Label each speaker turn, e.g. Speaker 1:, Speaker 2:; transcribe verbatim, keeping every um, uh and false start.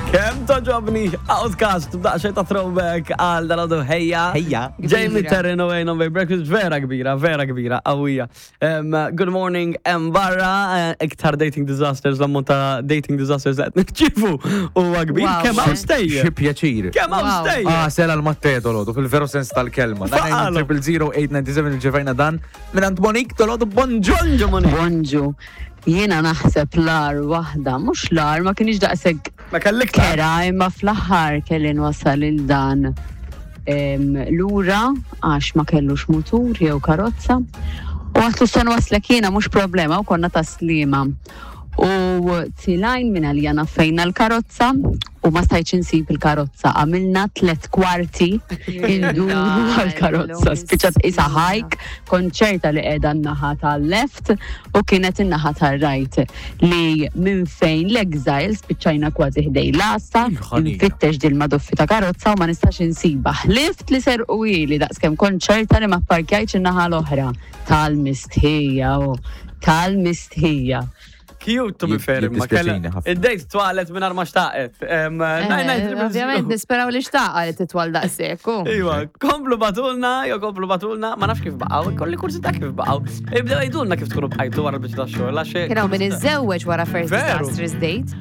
Speaker 1: Kemm togħġobni OutKast b'daqsxejn ta' throwback għal dal ħejja.
Speaker 2: Ħejja.
Speaker 1: Jamie
Speaker 3: Kbira.
Speaker 1: Terrin u Wayne on Bay Breakfast, vera kbira, vera kbira, qawwija. Um, good morning, hemm barra, eh, iktar dating disasters, l-ammont ta' dating disasters qed nirċievu huwa kbir.
Speaker 3: Wow.
Speaker 1: Kemm hawn stejjer?
Speaker 2: Xi pjaċir.
Speaker 1: Kemm hawn
Speaker 3: Wow.
Speaker 1: stejjer?
Speaker 2: Ah, sela l-Matteo dolodu, fil-veru sens tal-kelma.
Speaker 1: Faqalu.
Speaker 2: Triple zero eight nine seven irċevejna dan minn Monique dolodu, bonġu.
Speaker 1: Bonġu, Monique.
Speaker 4: Bonġu, jiena naħseb l-agħar waħda, mhux l-agħar, ma kienx daqshekk
Speaker 1: Ma kellek ta'
Speaker 4: kera, imma fl-aħħar kelli nwasal il dan em, lura għax ma kellux mutur jew karozza. U għedtlu se nwasslek jiena, mhux problema, u konna Tas-Sliema. U tlajna minn għalija fejna l-karozza u ma stajtx insib il-karozza. Għamilna tlet kwarti induru għal-karozza. Spiċċat isa hike, konċerta li qiegħda n-naħa tal-left u kienet in-naħa tal-right. Li minn fejn l-Exile spiċċajna kważi ħdejn l-għassa,
Speaker 2: Il-ħanina.
Speaker 4: nfittex dil maduffi ta' karozza u ma nistax insiba. Ħlift li serquhieli daqskemm konċerta li ma parkjajtx in-naħa l-oħra. Tal-mistħija u tal-mistħija.
Speaker 1: Cute to be fair, imma
Speaker 2: Jiddispjaċini
Speaker 1: kella.
Speaker 2: ħafna.
Speaker 1: Id-date twalet minn ma xtaqet. Em, nine nine triple zero.
Speaker 3: Eh, Ovvjament, nisperaw li xtaqa li titwal daqshekk. u.
Speaker 1: Iwa, komplu ibagħtulna, jo komplu ibagħtulna, ma nafx kif baqgħu, kolli kurżità kif baqgħu. Ibdew għidulna kif tkunu bqajtu wara l-biċċa tax-xogħol, għax
Speaker 3: Kien hawn min iżżewweġ wara first
Speaker 1: Veru.
Speaker 3: disastrous date.